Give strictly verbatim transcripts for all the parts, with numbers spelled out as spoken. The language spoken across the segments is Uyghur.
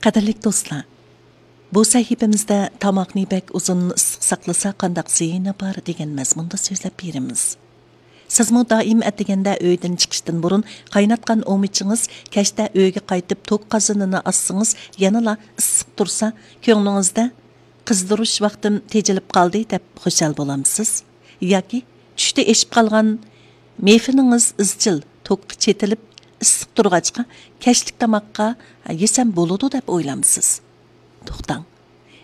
قەدىرلىك دوستلار، بۇ سەھىپىمىزدە تاماقنى بەك ئۇزۇن ئىسسىق ساقلىسا قانداق زىيىنى بار دېگەن مەزمۇندا سۆزلەپ بېرىمىز. سىزمۇ دائىم ئەتىگەندە ئۆيدىن چىقىشتىن بۇرۇن قايناتقان ئومىچىڭىز كەچتە ئۆيگە قايتىپ توك قازىنىنى ئاچسىڭىز يەنىلا ئىسسىق تۇرسا، كۆڭلىڭىزدە «قىزدۇرۇش ۋاقتىم تېجىلىپ قالدى» دەپ خۇشال بولامسىز؟ ياكى چۈشتە ئېشىپ قالغان مېفىنىڭىز ئىزچىل توكقا چېتىلىپ ئىسسىق تۇرغاچقا كەچلىك تاماققا يېسەم بولىدۇ دەپ ئويلامسىز؟ توختاڭ،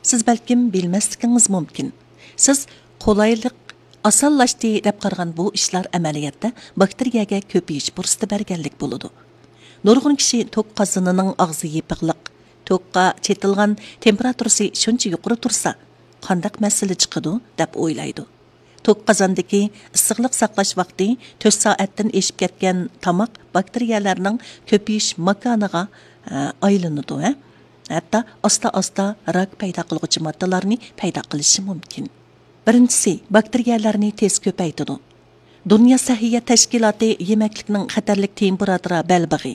سىز بەلكىم بىلمەسلىكىڭىز مۇمكىن. سىز قولايلىق، ئاسانلاشتى دەپ قارىغان بۇ ئىشلار ئەمەلىيەتتە باكتېرىيەگە كۆپىيىش پۇرسىتى بەرگەنلىك بولىدۇ. نۇرغۇن كىشى توك قازىنىنىڭ ئاغزى يېپىقلىق، توكقا چېتىلغان تېمپېراتۇرىسى شۇنچە يۇقىرى تۇرسا، قانداق مەسىلە چىقىدۇ دەپ ئويلايدۇ. توك قازاندىكى ئىسسىقلىق ساقلاش ۋاقتى تۆت سائەتتىن ئېشىپ كەتكەن تاماق باكتېرىيەلەرنىڭ كۆپىيىش ماكانىغا، ئە، ئايلىنىدۇ، ھە؟ ھەتتا ئاستا-ئاستا راك پەيدا قىلغۇچى ماددىلارنى پەيدا قىلىشى مۇمكىن. بىرىنچىسى، باكتېرىيەلەرنى تېز كۆپەيتىدۇ. دۇنيا سەھىيە تەشكىلاتى يېمەكلىكنىڭ خەتەرلىك تېمپېراتۇرا بەلبېغى،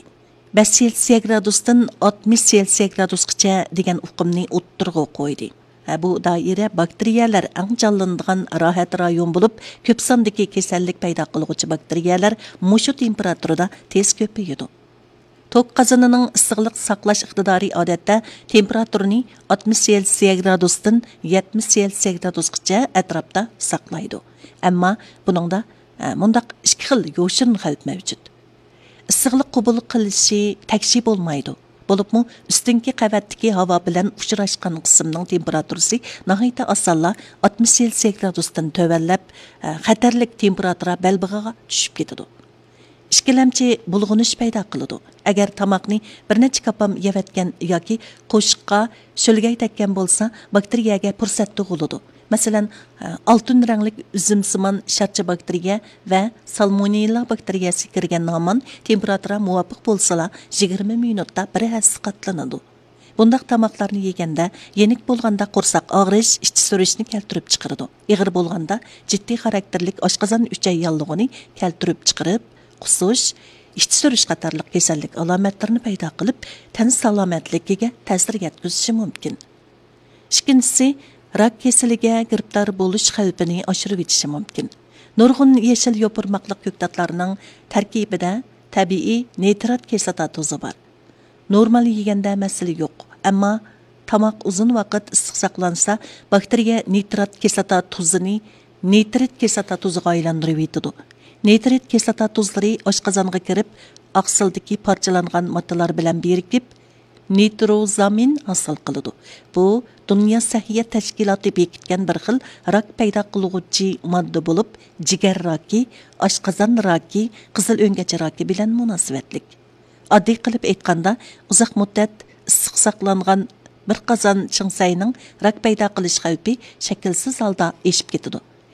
بەش سېلسىيە گرادۇستىن ئاتمىش سېلسىيە گرادۇسقىچە دېگەن ئۇقۇمنى ئوتتۇرىغا قويدى. ھە، بۇ دائىرە باكتېرىيەلەر ئەڭ جانلىنىدىغان راھەت رايون بولۇپ، كۆپ ساندىكى كېسەللىك پەيدا قىلغۇچى باكتېرىيەلەر مۇشۇ تېمپېراتۇرىدا تېز كۆپىيىدۇ. توك قازىنىنىڭ ئىسسىقلىق ساقلاش ئىقتىدارى ئادەتتە تېمپېراتۇرىنى ئاتمىش سېلسىيە گرادۇستىن يەتمىش سېلسىيە گرادۇسقىچە ئەتراپتا ساقلايدۇ. ئەمما بۇنىڭدا، ئە، مۇنداق ئىككى خىل يوشۇرۇن خەۋپ مەۋجۇت. ئىسسىقلىق قوبۇل قىلىشى تەكشى بولمايدۇ. بولۇپمۇ ئۈستۈنكى قەۋەتتىكى ھاۋا بىلەن ئۇچراشقان قىسىمنىڭ تېمپېراتۇرىسى ناھايىتى ئاسانلا ئاتمىش سېلسىيە گرادۇستىن تۆۋەنلەپ، ئە، خەتەرلىك تېمپېراتۇرا بەلبېغىغا چۈشۈپ كېتىدۇ. ئىككىلەمچى بۇلغىنىش پەيدا قىلىدۇ. ئەگەر تاماقنى بىر نەچچە كاپام يەۋەتكەن ياكى قوشۇققا شۆلگەي تەگكەن بولسا، باكتېرىيەگە پۇرسەت تۇغۇلىدۇ. مەسىلەن، ئالتۇن رەڭلىك ئۈزۈمسىمان شارچە باكتېرىيە ۋە سالمونېللا باكتېرىيەسى كىرگەن ھامان تېمپېراتۇرا مۇۋاپىق بولسىلا، يىگىرمە مىنۇتتا بىر ھەسسە قاتلىنىدۇ. بۇنداق تاماقلارنى يېگەندە يېنىك بولغاندا قورساق ئاغرىش، ئىچى سۈرۈشنى كەلتۈرۈپ چىقىرىدۇ. ئېغىر بولغاندا جىددىي خاراكتېرلىك ئاشقازان ئۈچەي ياللۇغىنى كەلتۈرۈپ چىقىرىپ، قۇسۇش، ئىچى سۈرۈش قاتارلىق كېسەللىك ئالامەتلىرىنى پەيدا قىلىپ، تەن سالامەتلىكىگە تەسىر يەتكۈزۈشى مۇمكىن. ئىككىنچىسى، راك كېسىلىگە گىرىپتار بولۇش خەۋپىنى ئاشۇرۇۋېتىشى مۇمكىن. نۇرغۇن يېشىل يوپۇرماقلىق كۆكتاتلارنىڭ تەركىبىدە تەبىئىي نىترات كىسلاتا تۇزى بار. نورمال يېگەندە مەسىلە يوق، ئەمما تاماق ئۇزۇن ۋاقىت ئىسسىق ساقلانسا، باكتېرىيە نىترات كىسلاتا تۇزىنى نىترىت كىسلاتا تۇزىغا ئايلاندۇرۇۋېتىدۇ. نىترىت كىسلاتا تۇزلىرى ئاشقازانغا كىرىپ، ئاقسىلدىكى پارچىلانغان ماددىلار بىلەن بىرىكىپ، نىتروزامىن ھاسىل قىلىدۇ. بۇ دۇنيا سەھىيە تەشكىلاتى بېكىتكەن بىر خىل راك پەيدا قىلغۇچى ماددا بولۇپ، جىگەر راكى، ئاشقازان راكى، قىزىل ئۆڭگەچ راكى بىلەن مۇناسىۋەتلىك. ئاددىي قىلىپ ئېيتقاندا، ئۇزاق مۇددەت ئىسسىق ساقلانغان بىر قازان چىڭسەينىڭ راك پەيدا قىلىش خەۋپى شەكىلسىز ھالدا ئېشىپ كېتىدۇ.